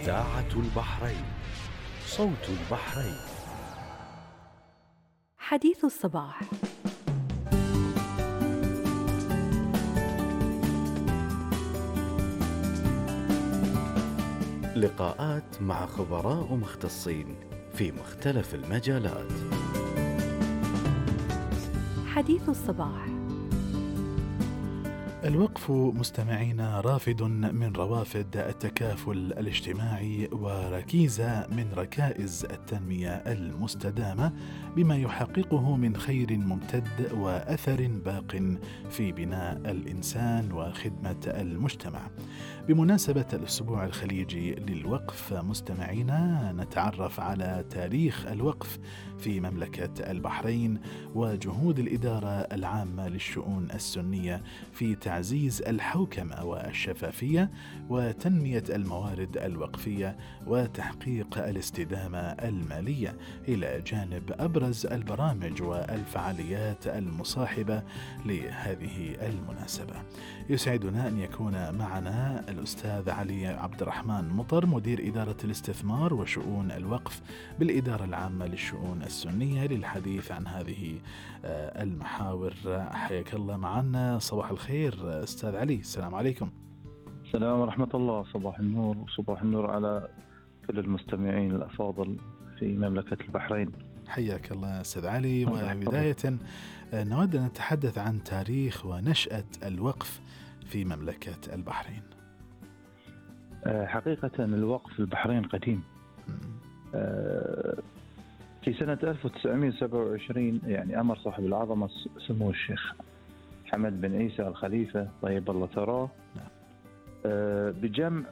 إذاعة البحرين، صوت البحرين. حديث الصباح. لقاءات مع خبراء مختصين في مختلف المجالات. حديث الصباح. الوقف مستمعينا رافد من روافد التكافل الاجتماعي وركيزة من ركائز التنمية المستدامة، بما يحققه من خير ممتد وأثر باق في بناء الإنسان وخدمة المجتمع. بمناسبة الأسبوع الخليجي للوقف مستمعينا نتعرف على تاريخ الوقف في مملكة البحرين وجهود الإدارة العامة للشؤون السنية في تعزيز الحوكمة والشفافية وتنمية الموارد الوقفية وتحقيق الاستدامة المالية، إلى جانب أبرز البرامج والفعاليات المصاحبة لهذه المناسبة. يسعدنا أن يكون معنا الأستاذ علي عبد الرحمن مطر، مدير إدارة الاستثمار وشؤون الوقف بالإدارة العامة للشؤون السنية، للحديث عن هذه المحاور. حياك الله معنا. صباح الخير أستاذ علي. السلام عليكم. السلام ورحمة الله. صباح النور وصباح النور على كل المستمعين الأفاضل في مملكة البحرين. حياك الله أستاذ علي. وبداية نود أن نتحدث عن تاريخ ونشأة الوقف في مملكة البحرين. حقيقة الوقف في البحرين قديم. في سنة 1927 يعني أمر صاحب العظمة سمو الشيخ حمد بن عيسى الخليفة طيب الله ثراه بجمع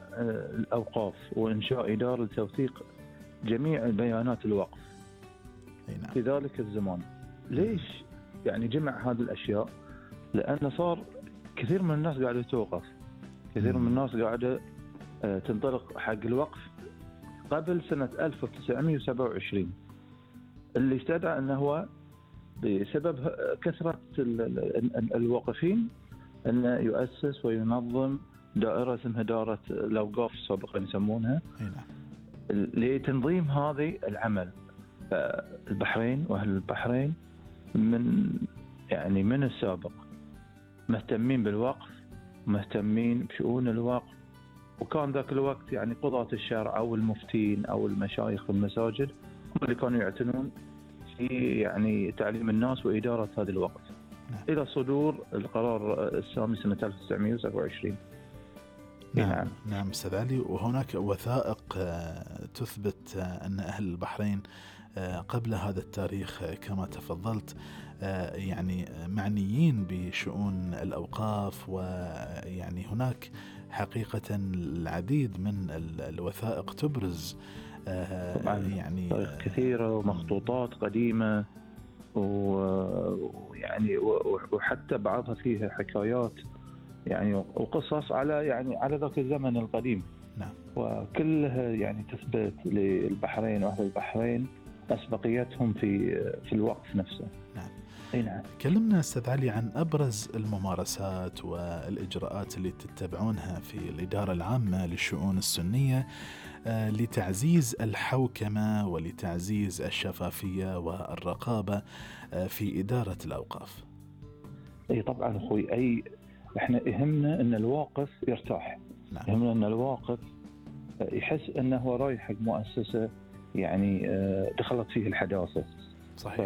الأوقاف وإنشاء إدارة لتوثيق جميع البيانات الوقف في ذلك الزمان. ليش يعني جمع هذه الأشياء؟ لأن صار كثير من الناس قاعدة توقف، كثير من الناس قاعدة تنطلق حق الوقف قبل سنة 1927، اللي استدعى أنه هو بسبب كثرة الواقفين أنه يؤسس وينظم دائرة اسمها دائرة الأوقاف سابقا يسمونها لتنظيم هذه العمل. البحرين وأهل البحرين من السابق مهتمين بالوقف، مهتمين بشؤون الوقف، وكان ذاك الوقت يعني قضاة الشرع أو المفتين أو المشايخ في المساجد هم اللي كانوا يعتنون في يعني تعليم الناس وإدارة هذا الوقت إلى صدور القرار السامي سنة 1927. نعم أستاذ علي. وهناك وثائق تثبت أن أهل البحرين قبل هذا التاريخ كما تفضلت يعني معنيين بشؤون الأوقاف، ويعني هناك حقيقة العديد من الوثائق تبرز يعني كثيرة ومخطوطات قديمة ويعني وحتى بعضها فيها حكايات يعني وقصص على ذاك الزمن القديم. نعم. وكلها يعني تثبت للبحرين وأهل البحرين أسبقيتهم في الوقف نفسه. نعم. نعم. كلمنا أستاذ علي عن أبرز الممارسات والإجراءات اللي تتبعونها في الإدارة العامة للشؤون السنية لتعزيز الحوكمة ولتعزيز الشفافية والرقابة في إدارة الأوقاف. أي طبعا أخوي، إحنا يهمنا أن الواقف يرتاح. نعم. يهمنا أن الواقف يحس أنه رايح حق مؤسسة يعني دخلت فيه الحداثة. صحيح.